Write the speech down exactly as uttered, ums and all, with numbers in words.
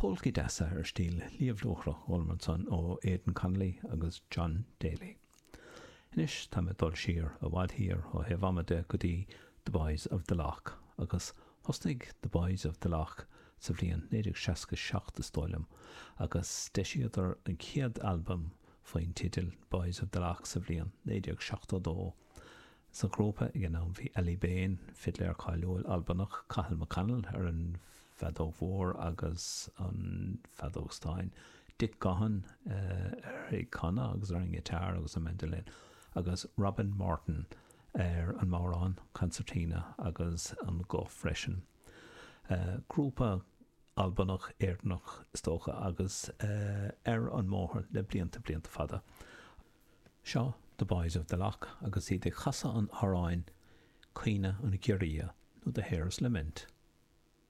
Polcaí deasa ar stíl Liamh Luachra ansan ó Aidan Connolly agus John Daly. Anois tá mé dul siar i bhfad thiar ó thaobh ama de go dtí The Boys of the Lough agus thosnaigh The Boys of the Lough sa bhliain naoi déag seasca seacht is dóigh liom agus d'eisíodar an chéad albam faoin teideal Boys of the Lough sa bhliain naoi déag seachtó dó. Sa ghrúpa ag an am bhí Aly Bain, fidléir cáiliúil Albanach, Cathal McConnell ar an bhfeadóg mhór agus an feadóg stáin, Dick Gaughan ar ag canadh agus ar an ngiotár agus an mandolin, agus Robin Morton ar an mbodhrán, concertina agus an guth freisin. Grúpa Albanach Éireannach is dócha agus ar an mbóthar le blianta blianta fada. Seo The Boys of the Lough agus iad ag casadh an amhráin Caoineadh an Ghiorria nó The Hare's Lament.